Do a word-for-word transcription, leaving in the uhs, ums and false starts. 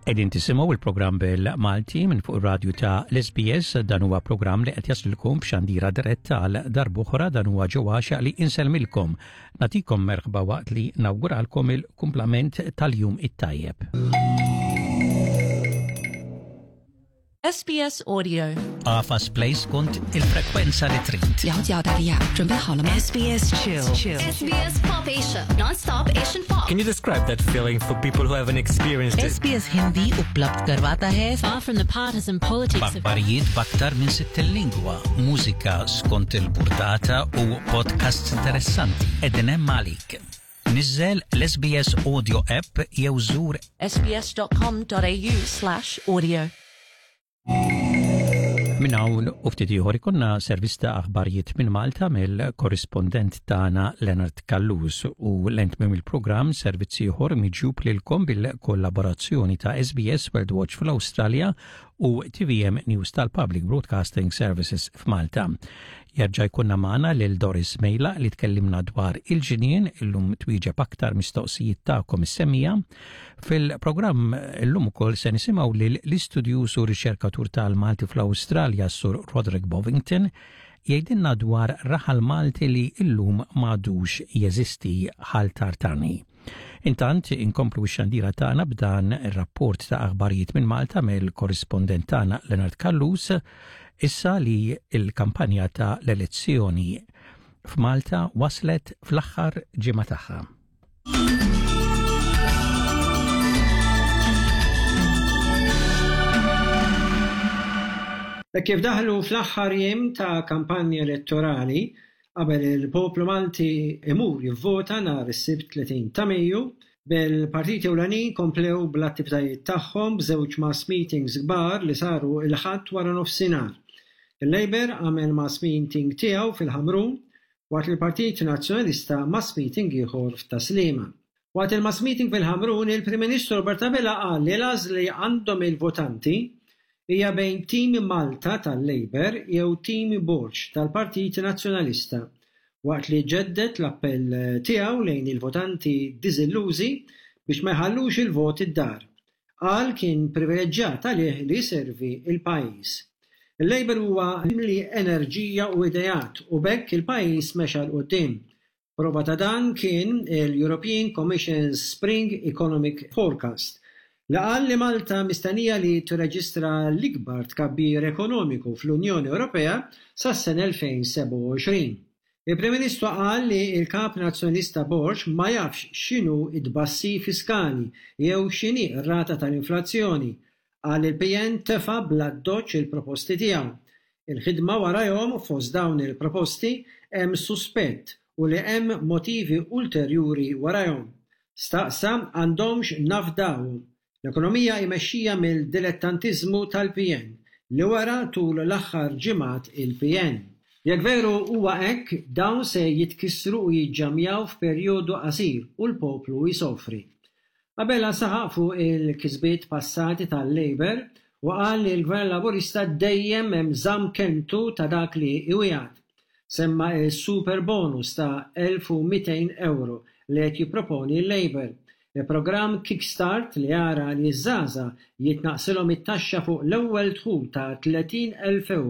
Qegħdin tisimgħu il-programm bil-Malti minn fuq ir-radju ta' l-S B S. Dan huwa programm li qed jaslilkom b'xandira diretta. Għal darb'oħra, dan huwa ġewwaxa li insellmilkom. Nagħtikom merħba waqt li nawguralkom il-kumplament tal-jum it-tajjeb. S B S Audio. Agħfas play skont il-frekwenza li trid. 了解澳大利亚，准备好了吗？ S B S Chill. S B S Pop Asia, non-stop Asian pop. Can you describe that feeling for people who haven't experienced it? S B S Hindi उपलब्ध करवाता है Far from the partisan politics of B'aħbarijiet b'aktar minn sittin lingwa, mużika skont il-burdata u podcasts interessanti. Qegħdin hemm għalik. Niżżel l-S B S Audio app jew żur S B S dot com dot A U slash audio. Minn hawn u ftit ieħor ikollna servizz ta' aħbarijiet minn Malta mill-korrispondent tagħna Leonard Callus u lejn tmiem il-programm servizz ieħor miġjub lilkom bil-kollaborazzjoni ta' S B S World Watch fl-Awstralja u T V M News tal-Public Broadcasting Services f'Malta. Jerġa' jkollna magħna lil Doris Mejla li tkellimna dwar il-ġinien, illum twieġeb aktar mistoqsijiet tagħkom is-semmiegħa. Fil-programm illum ukoll se nisimgħu lil l-istudjuż u riċerkatur tal-Malti fl-Awstralja, Sur Roderick Bovington, jgħidilna dwar raħal Malti li illum m'għadux jeżisti, Ħal Tartani. Intant inkomplu x-xandira tagħna b'dan ir-rapport ta' aħbarijiet minn Malta mill-korrispondent tagħna Leonard Callus, issa li il-kampanja ta' l-elezzjoni f'Malta waslet fl-aħħar ġimgħa tagħha. E kif daħlu fl-aħħar jiem ta' kampanja elettorali qabel il-poplu Malti imur jivvota nhar is-Sibt tletin ta' Mejju, bil-partiti ewlenin komplew bl-attivitajiet tagħhom b'żewġ mass meetings kbar li saru il-Ħadd wara nofsinhar. Il-Labour għamel mass meeting tiegħu fil-Ħamrun, waqt il-Partit Nazzjonalista mass meeting ieħor f'Tas-Sliema. Waqt il-mass meeting fil-Ħamrun, il-Prim Ministru Robert Abela qal li l-għażla li għandhom il-votanti hija bejn Tim Malta tal-Labour jew Tim Borg tal-Partit Nazzjonalista, waqt li ġedded l-appell tiegħu lejn il-votanti diżillużi biex ma jħallux il-vot id-dar. Qal kien privileġġjat għalih li jservi il-pajjiż. Il-Labour huwa mimli enerġija u ideat u b'hekk il-pajjiż mexa 'l quddiem. Prova ta' dan kien il-European Commission's Spring Economic Forecast li qal li Malta mistennija li tirreġistra l-ikbar tkabbir ekonomiku fl-Unjoni Ewropea sas-sena elfejn u sebgħa u għoxrin. Il-Prim Ministru qal li il-Kap Nazzjonalista Borg ma jafx x'inhu it-tbassir fiskali jew x'inhi r-rata tal-inflazzjoni. Qal il-P N tefa' bl-addoċċ il-proposti tiegħu. Il-ħidma warajhom, fost dawn il-proposti hemm suspett u li hemm motivi ulterjuri warajhom. Staqsa għandhomx nafdawhom. L-ekonomija imexxija mill-dilettantiżmu tal-P N li wera tul l-aħħar ġimgħat il-P N. Jekk veru huwa hekk, dawn se jitkissru u jiġġamjaw f'perjodu qasir u l-poplu jsofri. Abela saħaq fuq il-kisbiet passati tal-Labour u qal li l-Gvern Laburista dejjem hemm żamm kelmtu ta' dak li iwiegħed. Semma il-super bonus ta' elf u mitejn euro li qed jipproponi l-Labour. Il-programm Kickstart li jara li ż-żgħażagħ jitnaqsilhom it-taxxa fuq l-ewwel dħul ta' tletin elf euro.